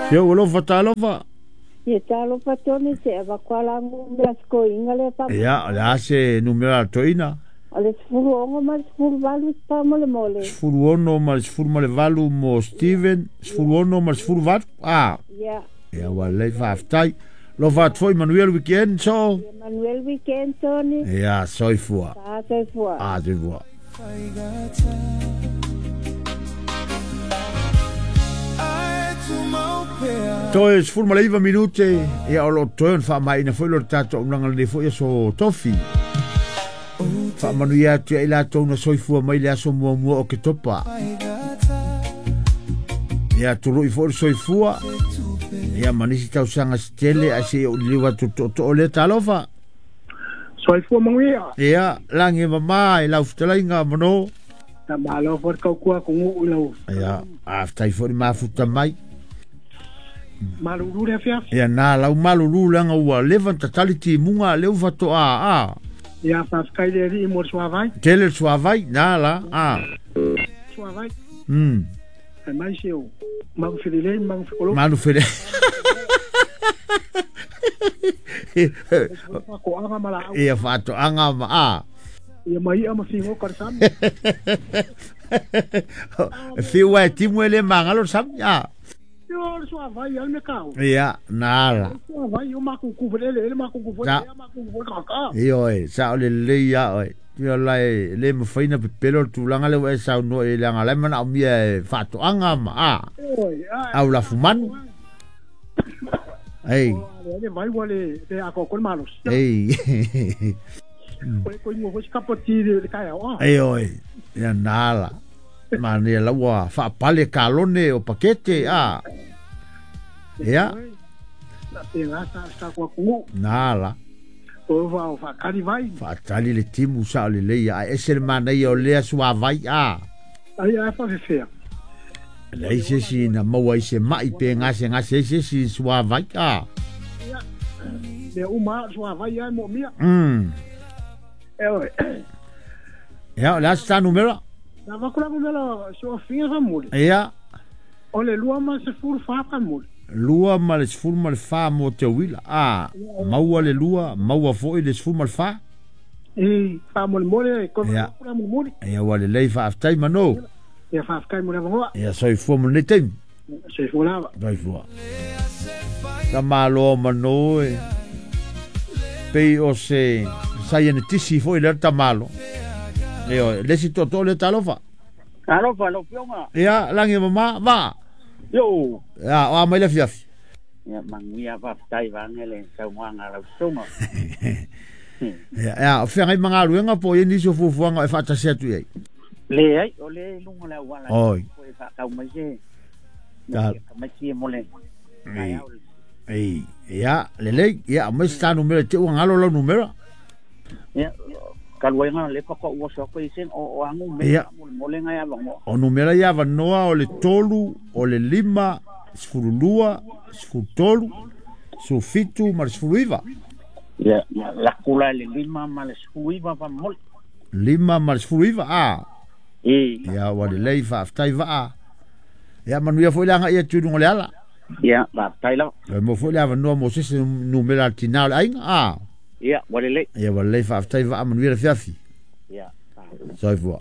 Se o alofa talofa. Ia talofa Tony se avakuala numera sikoiga lea fa. Ia, o le a se numera a le toeaina? O le 16 ma le 18 faamolemole. 16 ma le 18 mo Steven, 16 ma le 18. Ah. Ia. Ia ua lelei faafetai. Alofa atu foi manuia le weekend so. Ia manuia le weekend Tony. Ia soifua. Ah soifua. Ah soifua. Toe 19 minute, ia o lo o toe ona faamaeaina foi lo le tatou auaunaga lenei foi aso Tofi. Faamanuia atu ia i latou na soifua mai le aso muamua o Oketopa. Ia tului foi le soifua, ia ma nisi tausaga se tele ae se i ou liliu atu le tootoo lea talofa. Soifua manuia. Ia, lagi e mama i lau fetalaiga mano. Ia malo foi le tautua atunuu i lau. Ia, faafetai foi le mafuta mai. Malulu le afiafi. Ia na lau malulu leaga ua leva ona tatali timuga lea ua faatoa a. Ia faafetai le Alii mo le suavai. Tele le suavai na la a. Suavai. Fai mai se o manu felelei ma manu fekologo. Manu felelei. Faatoaga ma laau. Ia faatoaga ma a. Ia ma i'a ma figoka le sami. E fiu e timu e le magalo le sami a. Io le suavai al me kau. Ia, na ala. Suavai o makuku felele ele makuku foi ia makuku foi kaka. Io e, sa o le lelei ia oe. Ia la e le mafai na pepelo le tulaga lea ua e saunoa i ai leaga o la e manaomia e faatoaga ma a. Au lafu manu. Ei. Le vai ua le le atoatoa le malosi. Ei. O le koingo foi se kapati le taeao a. Ei oi. Ia na ala. Manaia la ua faapale kalone o pakete a. Ia. Na tēnā sa sa kua kungu. Na ala. O va o whaakari vai. Whaatali le timu sa o le leia. Ae ese le manaia o lea suavai a. Ai ai whawhewhea. Leai se isi na maua i se ma'i pe gasegase ai se isi i suavai a. Ia, mea uma a o suavai a e moomia. E oe. Ia, o le a se ta numera? Na avatu la numera si o afiga faamuli. Ia. O le 24 faamuli. 24 mo te uila. A, maua le lua, maua foi le 14. E, faamolemole, koe avatu la mulimuli. Ia, ua lelei faafetai Mano. Ia, faafetai mo le avanoa. Ia, soifua mo lenei taimi. Soifua lava. Soifua. Tamaloa Mano e. Pei o se saienetisi foi lea le tamalo. Ioe, le isi tootoo lea talofa. Talofa lau Afioga. Ia, lagi e mama, va. Yo. Ia, o a mai le afiafi. Ia, manuia faafetai vaeane le saunoaga a lau susuga. Ia, ia, o feagai ma galuega po o i ai nisi o fuafuaga e faatasi atu i ai? Leai, o lea i luga o le auala Oi. e faatau mai se Ta- tamaiti e mo le taeao. Ei, ia, lelei, ia, aumai se ta numera i te ua galo lau numera. Ia, talu ai na le faatoa ou oso atu ai se o a numera Ia. faamolemole nai avanoa. O numera ia avanoa o le tolu, o le lima, 12, 13, 17 ma le 19. Ia, laku la le 5 ma le 19 faamolemole. 5 ma le 19, a. E. Ia, ua lelei, faafetai vaa. Ia, manuia foi le agai atu i luga o le ala. Ia, faafetai lava. Toe maua foi le avanoa mo se isi numera a le tinā o le aiga, a. Ia, ua lelei. Ia, ua lelei, faafetai vaa, manuia le afiafi. Ia, Soifua.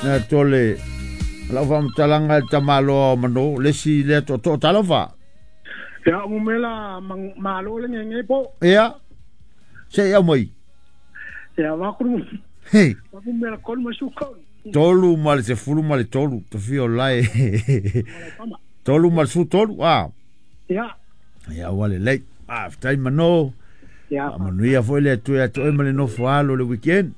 Na tole lau faamatalaga i le tamaloa o Mano, le isi lea tootoo talofa. Ia, o mumela malo le ngenge po. Ia, se i aumai. Ia, vaku Hei. vaku mela kolu ma su kolu. Tolu ma le sefulu ma le tolu, tofia o lae. Tolu ma le sefulu tolu, a. Ia. Ia, ua lelei. Faafetai Mano. Ia. Faamanuia foi le Atua ia te oe ma le nofo alo o le weekend.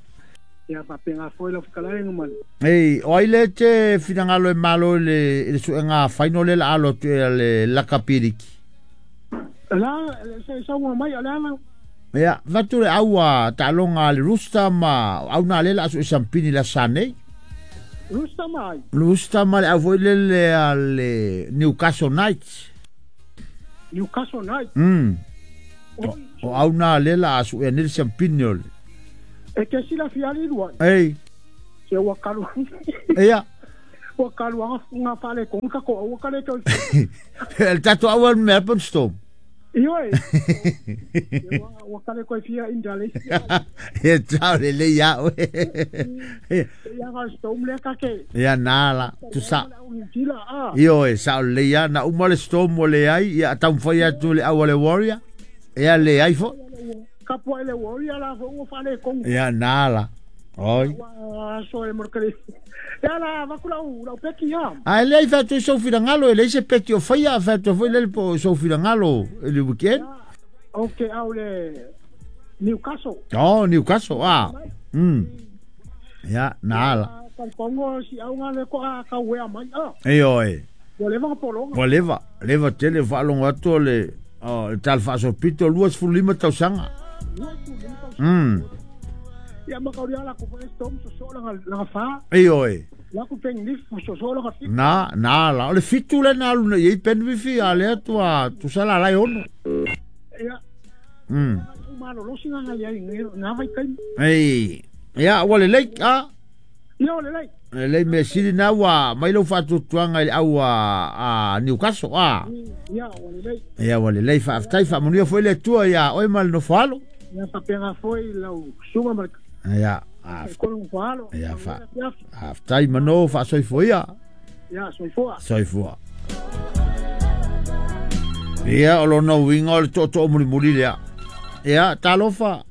Ia, faapena foi lau fetalaiga ma le. Ei, o ai lea e te finagalo e malo i le, i le suega final lea la alo atu e le lakapi liki? La, se saunoa mai o le ala. Ia, fatu le au a taaloga a le Rooster ma o au na lea la a sue sampini le asa nei. Rooster ma ai? Rooster ma le au foi lele a le Newcastle Knights. Newcastle Knights? O, o au na lea la a sue nei le sampini o le. E ke silafia ali lua. Ei. Se ua kalu. Ia. Ua kaluanga nga whale konga ka ko au ka le toi. El tato au al Melbourne Storm. Ioe. Ua kale koe fia indale. E tau le le ia oe. Ia nga Storm le kake. Ia nā la. Tu sa. Ioe, sa o le ia. Na uma le Storm o le ai. Ia taumfai atu le au le Warrior. Ia le ai fo. Kapua le Warrior la fo ua whale konga. Ia nā la. Oi. Ua so e morkare. Ia la vaku lau peki ia. A ele ai whātu i soufilangalo, ele se peki o whaia, whātu foi lele po soufilangalo i le weekend. Ok, au le Newcastle. Oh, Newcastle, ah. Ia, nā la. Kongo si au ngā le ko a kau ea mai. E oe. Ua leva nga polonga. Ua leva, leva tele whaalongo atu le tal whaasopito 25 tausanga. 25 tausanga. Ia makauri ala ko foi Storm so so langa fa. E oe. La ku peng ni so so langa fi. Na na la o le fitu le na luna i Penwifi a le atu a tu sala lai ono. Ia. Malo lo singa ngai ai nga vai kai. Ei. Ia ua le lei a. Ia o le lei. Le lei me sili na ua mai lo fatu tuanga i au a Newcastle a. Ia ua le lei. Ia ua le lei fa aftai fa manuia foi le tua ia oi mal no falo. Ia fa penga foi lau sunga mal. Ia, ia fa. Aftai mano fa soifoia. Ia soifoa. Soifoa. Ia o lona uiga o le tootoo mulimuli lea. Ia talofa.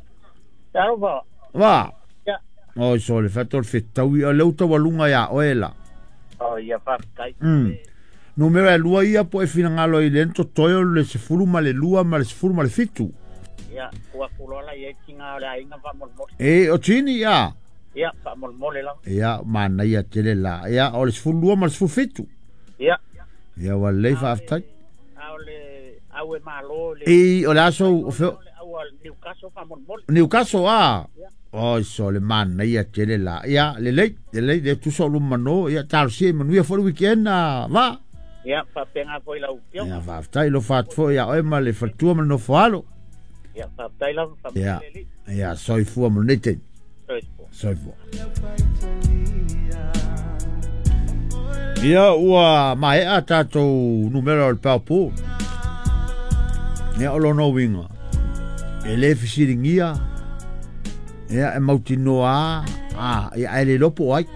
Talofa. Va. Ia. Oi so le fato le fetaui o le utawaluga ia oe la. O ia faafetai. Numera e lua ia po e finagalo i le totoe o le 12 ma le 17. Ia, ua kulola ia tinga o le aiga faamolemole. E, o tini ia. Ia, faamolemole lava. Ia, manaia tele la. Ia, o le 12 ma le 17. Ia. Ia, ua lelei faafetai. A o le au e malo le. E, o le aso o feo. Au a Newcastle faamolemole. Newcastle, a. Oi, so le manaia tele la. Ia, lelei, lelei, le tusa o lumano. Ia, talosia i manuia fo le weekend, va. Ia, faapenga foi lau afioga. Ia, faafetai lo faatu ia oe ma le faletua ma le nofoalo. Ia, faafetai lava, faamanuia le Alii. Ia, soifua ma lenei taimi. Soifua. Soifua. Ia, ua maea tatou numera o le paopo. Ia, o lona uiga. E le fesiligia. Ia, e mautinoa a. Ia, ae le lopo ai.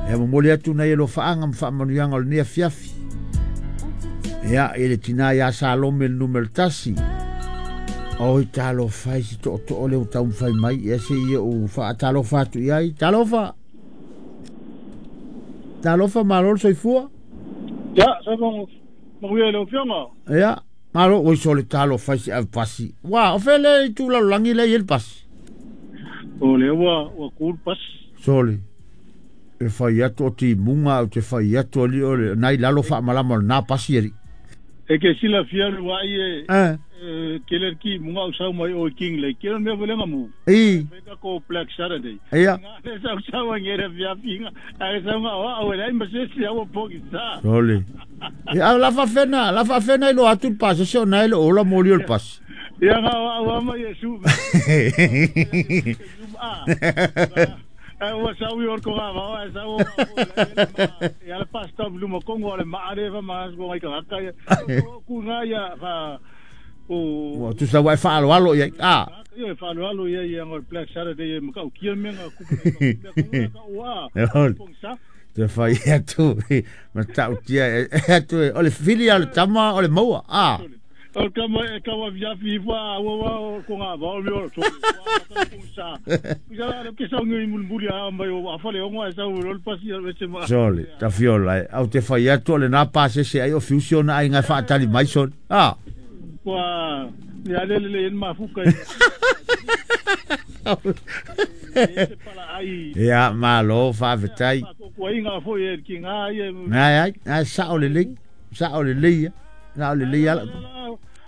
Ia, momoli atu nai e lofaaga ma faamanuiaga o lenei afiafi. Ia, i le tina ia Salome le numera 1. Oi talofa i si tootoo le utaumafai mai. Ia se ia u faatalofa atu i ai. Talofa. Talofa malo le soifua. Ia, soifua manuia i lau afioga. Ia, malo oi so le talofa i si avepasi. Ua, o fele i tūlalolagi lea i le pasi. O lea ua kū le pasi. Sole. E fai atu o timuga au te fai atu ali o le nai lalo faamalama o lenā pasi ali. E ke sila fia luai e kele ki munga au sau mai o King Lake. Kele mea vele mu. I. Ka ko Black Saturday. Ia. Nga sau sau ngere fia finga. Ai sau nga o le ma se se au poki sa. Sole. Ia la fa fena ilo atu le pasi se ona ile ola moli o le pasi. Ia nga o ama Yesu. Ua sau i orko ngā wao, e sau o ia le pasta luma kongo ale maare fa ma ko ngai kaka ia. Ku ngā ia fa o Ua tu sa wai whaalo ia. Ah. Ia whaalo ia ia ngol Black Saturday ma kau kia me ngā kupu ka ua. Te whai atu ma tau tia atu o le fili o le tama o le maua. Ah. O kama e kawa via fifa wa ko ngā wao mi o to sa. Kusa le ke sau ngi mulmuli a mai o afale o ngā sau rol pasi o se ma. Sole, ta fiola au te whai atu o le nā pase se ai o fusiona ai ngai whaatali mai sole. Ah. Kua le ale le en mafuka. Ia malo faafetai. Kua inga foi e ki ngā ia. Ngai ai sao le lei, sao le lei. Sao le lei ala.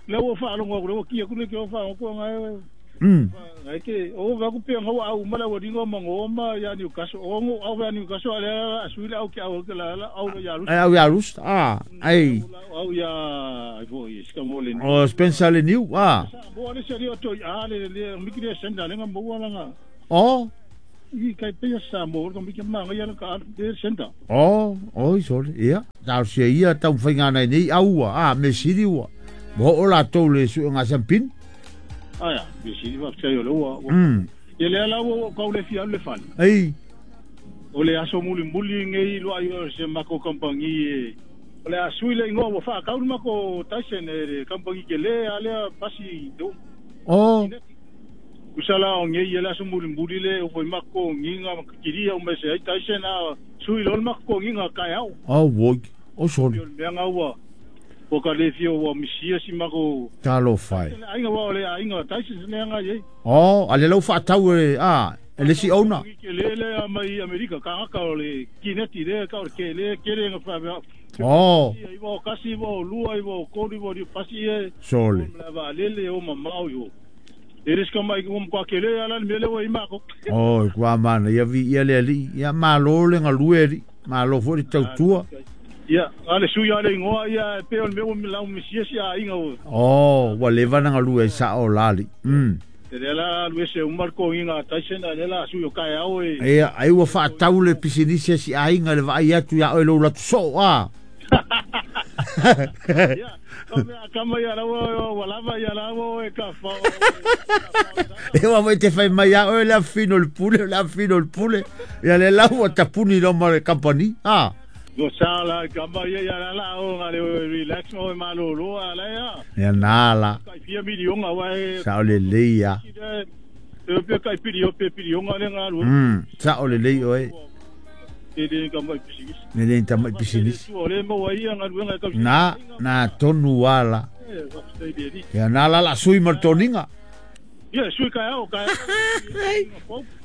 Le ua whaalongo aku, le ua kia kune ki o whaalongo kua ngai. Ngai ke, o waku pia ngau au mala ua ringo mangoma ia Newcastle. O ngo au ia Newcastle ale asuile au ki au ke la au ia Rus. Au ia Rus, ah, ai. Au ia ai foi, sika mo le. O Spencer le New, ah. Bo ale seri o toi a le le mikiri senda le ngam bo la nga. O. I kai pe sa mo ko mi ke ma ngai ala ka de senda. Oh, oi sole, ia. Tau se ia tau whainga nei nei aua, a me siri ua. Mo o la tau le su nga sampin. Aia, me siri wa tei o le ua. Ia le ala ua kau le fia le fale. Ei. O le aso muli muli ngei lo ai o se mako kampangi e. O le asui le ingoa ua whaakau mako Tyson e le kampangi ke le alea pasi do. Oh. Usala o ngei ele aso muli muli le o foi mako nginga makiria o mese ai Tyson a sui lol mako nginga kai au. Oh woi. O soli. O mea ngaua. O ka le fia ua misia si mako. Talo fai. Ainga wa o le ainga Tyson le anga ye. Oh, ale lau whaatau e a ele si ona. Ke le le a mai Amerika ka ngaka o le kineti le ka o le ke le ke le nga wha. Oh. I wa kasi wa lua i wa kori wa pasi e. Soli. La va lele o mamau yo. Eres ka mai ko kwa kele ala mele wa imako. Oh, kwa mana ia vi ia le ali ia malo le ngalue li malo fo le tautua. Ia, ale su ia le ngoa ia pe o me la misia si a inga o. Oh, wa le vana ngalue sa o lali. Te la luese o marko inga Tyson ale la su yo kai au e. Ia, ai ua whaatau le pisinisi si a inga le vai atu ia oi lo latu so a. Ia, kama ia lawa wa lava ia lawa e ka fa. E wa mai te fai mai a oi le afino le pule, le afino le pule. Ia le lau tapuni lo ma le company. Ah. Go sala kama ia ia la o ngale relax mo malo lo ala ia. Ia nala. Kai fia milionga wa e. Sa o le leia. E pe kai piri o pe pilionga le ngalu. Sa o le lei oe. Le ka mai pisinisi. Le ta mai pisinisi. O le mo ia ngalu ka. Na tonu ala. Ia nala la sui martoninga. Ia sui kai au kai.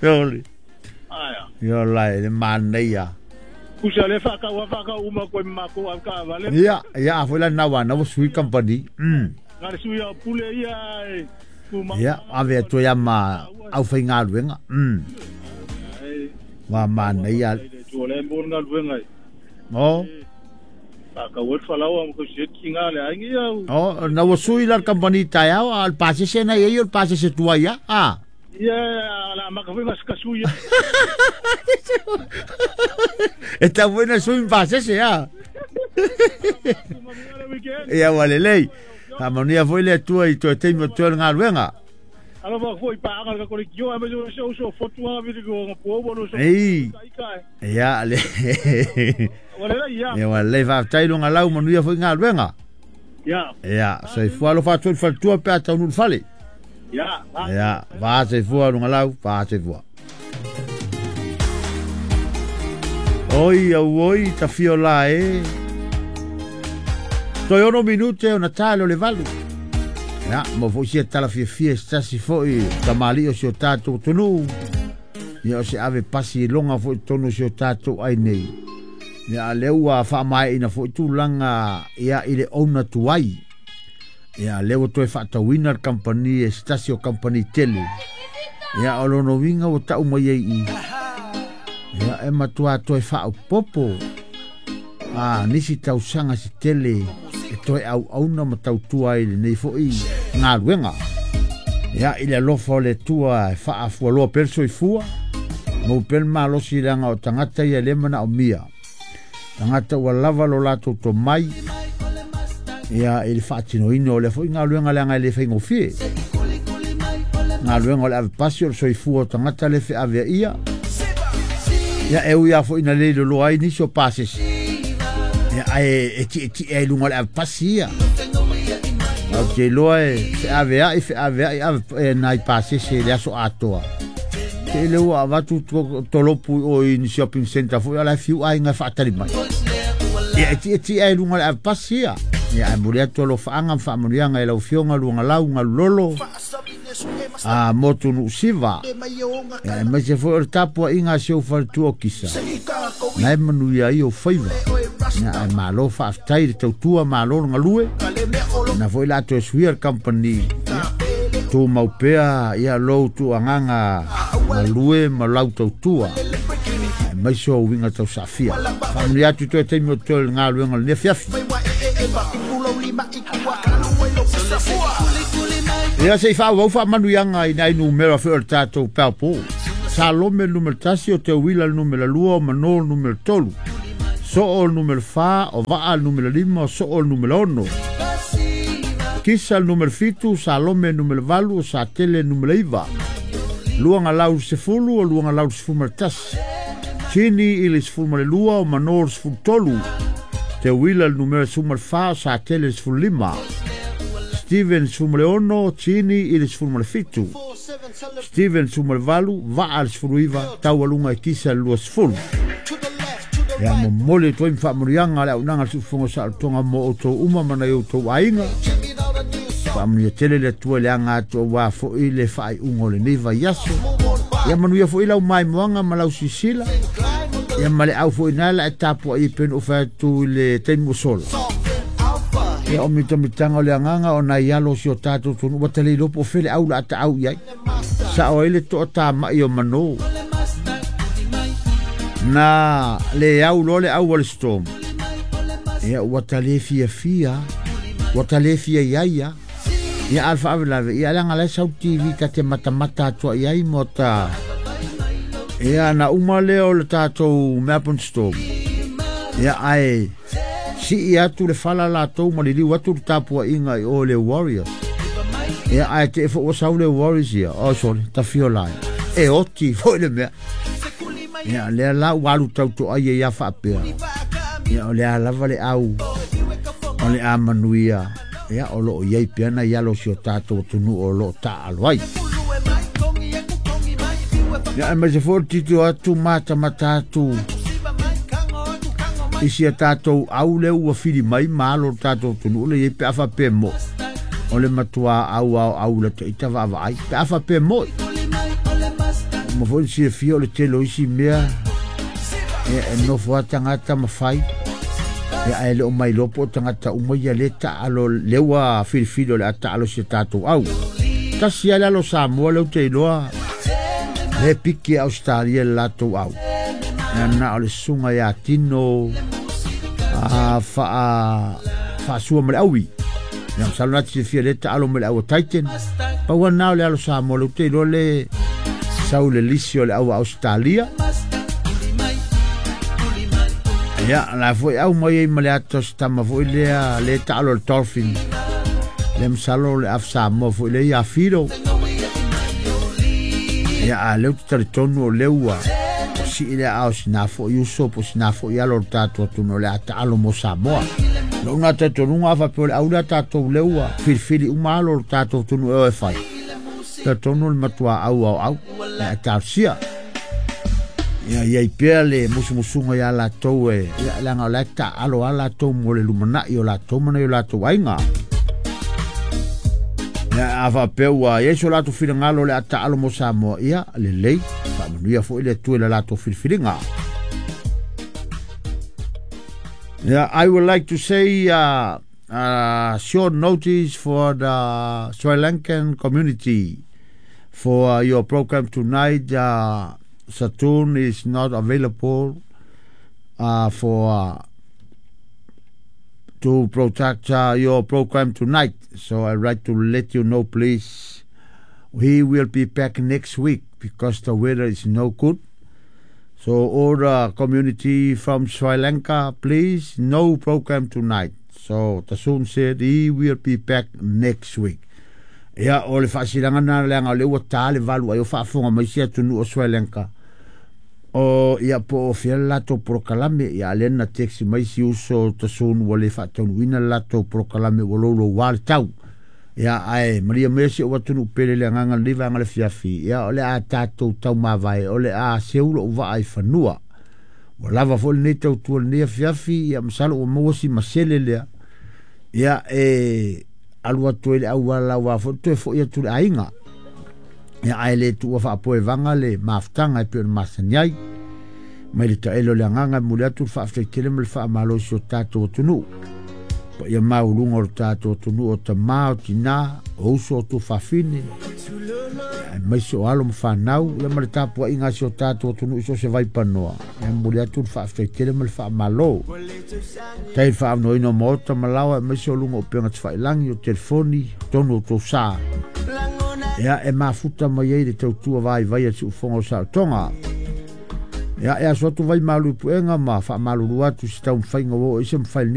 Oli. Aia. Ia la le maneia. Kusa le whaka whaka uma koe mako au ka vale. Ia, ia foi la nawa na sui company. Ngare sui au pule ia e. Ia, ave atu ia ma au whainga luenga. Wa maneia. Le mo nga luenga. Oh. Ka wot falawa mo ko sit kinga le aingi au. Oh, na wo sui la company tai au al pase se na ia al pase se tua ia. Ah. Ia la maka foi mas kasuia. Está buena sui pase se ah. Ia wale lei. A mania foi le tua i toe teimo toe nga luenga. Alo va foi pa anga ka kio a me so so fotu a vi ko po bo so. Ei. Ia le. Wale la ia. Ia wale va tai lunga lau manuia foi nga luenga. Ia. Ia, sei fua lo fatu fal tua pe ata nu fale. Ia. Ia, va sei fua lunga lau, va sei fua. Oi, au oi, ta fio la e. Toi ono minute o Natale o le valu. Ia, mo foi sia tala fia fia stasi foi tamali o si o tātou tonu. Ia o se ave pasi longa foi tonu si o tātou ai nei. Ia le ua whaamae ina foi tūlanga ia i le ona tuai. Ia le ua toe whaatawina le company e stasi o company tele. Ia o lono winga o tau mai ei i. Ia e matua toe whaopopo. A nisi tausanga si tele e toe au auna ma tautua i le nei foi ngā luenga. Ia i le alofa o le tua e whaafua loa perso i fua. Mau pel malosi langa o tangata ia lemana o mia. Tangata ua lava lo lato to mai. Ia i le whaatinoina o le foi ngā luenga leanga i le whaingofie. Ngā luenga o le ave pasi o le soifua o tangata le whe avea ia. Ia e ui a foi na leilo loa ai nisi o pasesi. Ia ai e ti e ai lunga le ave pasi ia. Au te loa e whe avea i whe avea i ave e nai pasesi le aso atoa. Te ele ua avatu tolopu o i ni shopping center foi ala fiu ai ngā whaatari mai. Ia e ti ai lunga le ave pasi ia. Ia ai muri atu alo whaanga whaamurianga e lau fionga lunga lau ngā lolo. A motu nu siva. Ia e mai se foi o le tapua inga se o whaletua o kisa. Nai manu ia i o whaiva. Ia e malo whaaftai le tautua malo ngā lue. Na foi la atu e suia le company. Tō maupea ia lou tu anganga ngā lue ma lau tautua. E mai se o winga tau safia. Whamuri atu toe teimi o toe ngā luenga le nefiafi. Ia sei wha wau wha manu ianga i nai numera whi o le tātou pēpō. Salome le numera 1, o Teuila le numera 2, o Mano le numera 3. Soo le numera 4, o Vaa le numera 5, o Soo le numera 6. Kisa le numera 7, Salome le numera 8, o Satele le numera 9. Luanga lau 10, o luanga lau 11. Tini i le 12, o Mano le 13. Teuila le numera 14, o Satele le 15. Steven 16, Tini i le 17. Steven 18, Vaa le 19, Taualunga i Kisa le 20. Ia momoli toi mfaamurianga le aunaga le suufofoga saolotoga mo outou uma ma nai outou aiga. Faamanuia tele le Atua i le aga atu auā foʻi le faaiuga o lenei vaiaso. Ia manuia foʻi lau maimoaga ma lau sisila. Ia ma le au foʻi na la e tapuaʻi e pei ona ou fai atu i le taimi ua sola. Ia o mitamitaga o le agaga o nai alo o si o tatou atunuu ua talei loa po o fea le au la a taau i ai. Sao ai le toatamaʻi o manō. Na le au loa le au a le Storm. Ia ua ta le fiafia, ua ta le fia iai a. Ia a le faavelave, ia leaga la e sau TV ta te matamata atu ai ai mo ta. Ia na uma lea o le tatou Melbourne Storm. Ia ae sii atu le fala latou ma liliu atu le tapuaiga i o le Warriors. Ia ae te fo ua sau le Warriors ia, oh sorry, tafio lai. E oti foi le mea. Ia lea la ua alu tautoai ai ia faapea. Ia o le a lava le au o le a manuia. Ia o loo iai pea nai alo o si o tatou atunuu o loo taaalo ai. Ia aemaise foi o le tilotilo atu matamata atu i si a tatou au lea ua fili mai ma alo o le tatou atunuu le iai pe a faapea moʻi. O le matua au ao au la taita vaavaai pe a faapea moʻi. Ma foi silafia o le tele o isi mea ia e nofo a tagata ma fai. Ia ae le o mai loa po o tagata uma ia le taalo le ua filifili o le a taalo si a tatou au. Tasi lava le alo Samoa lea ou te iloa le piki a Australia le latou au. Ia na o le susuga ia Tino a faa faasua ma le aui. Ia masalo na te silafia le taalo ma le au a Titan. Pau lava na o le alo Samoa lea ou te iloa le sau le lisi o le au a Australia. Ia, la foi au mai ai ma le ata o se tama foi lea le taalo le Dolphin. Le masalo le af Samoa foi le ia Fido. Ia, a leu te talitonu o lea ua sii le ao sina foi uso po sina foi alo o le tatou atunuu o le a taalo mo Samoa. Lou na talitonuga a faapea o le au lea tatou lea ua filifili uma alo o le tatou atunuu e o e fai. Talitonu le matua au ao au e a talosia. Ia iai pea le musumusuga ia latou e ia leaga o la e taaalo a latou mo le lumanai o latou ma nai o latou aiga. Ia a faapea ua iai so latou finagalo o le a taalo mo Samoa, ia lelei, faamanuia foi le Atua i le latou filifiliga. Yeah, I would like to say a short notice for the Sri Lankan community for your program tonight. Saturn is not available for to protect your program tonight. So I'd like to let you know, please. He will be back next week because the weather is no good. So all the community from Sri Lanka, please, no program tonight. So Tasun said he will be back next week. Ia, o le faasilaga na leaga o lea ua tā le 8 ai o faafofoga mai si atunuu o Sri Lanka. O ia po o fea le latou polokalame, ia a lea na text mai si uso Tasun ua le faataunuuina le latou polokalame ua louloua le tau. Ia ae malia mai si ou atunuu pele le agaga lenei vaega le fiafi, ia o le a tatou taumavae, o le a seu lou vaa i fanua. Ua lava foi lenei tautua lenei afiafi, ia masalo ua maua si masele lea. Ia e alu atu ai le auala aua foi toe foi atu i le aiga. Ia ae le tuua faapoevaga le mafutaga e pei ona masani ai. Mai le taele o le agaga e momoli atu le faafetai tele ma le faamalo i si o tatou atunuu. Paia maualuga o le tatou atunuu o tamā, o tinā, o uso, o tuafafine, aemaise o alo ma fanau, ia ma le tapuaiga a si o tatou atunuu i so o se vaipanoa. Ia momoli atu le faafetai tele ma le faamalo. Tai le faaavanoaina o maota ma laoa aemaise o luga o upega tafailagi, o telefoni, totonu o tou sa. Ia e mafuta mai ai le tautua vaivai a siufofoga o Saotoga. Ia e aso atu vai malu i puega ma faamalulu atu si taumafaiga ua oo i se mafai lenei.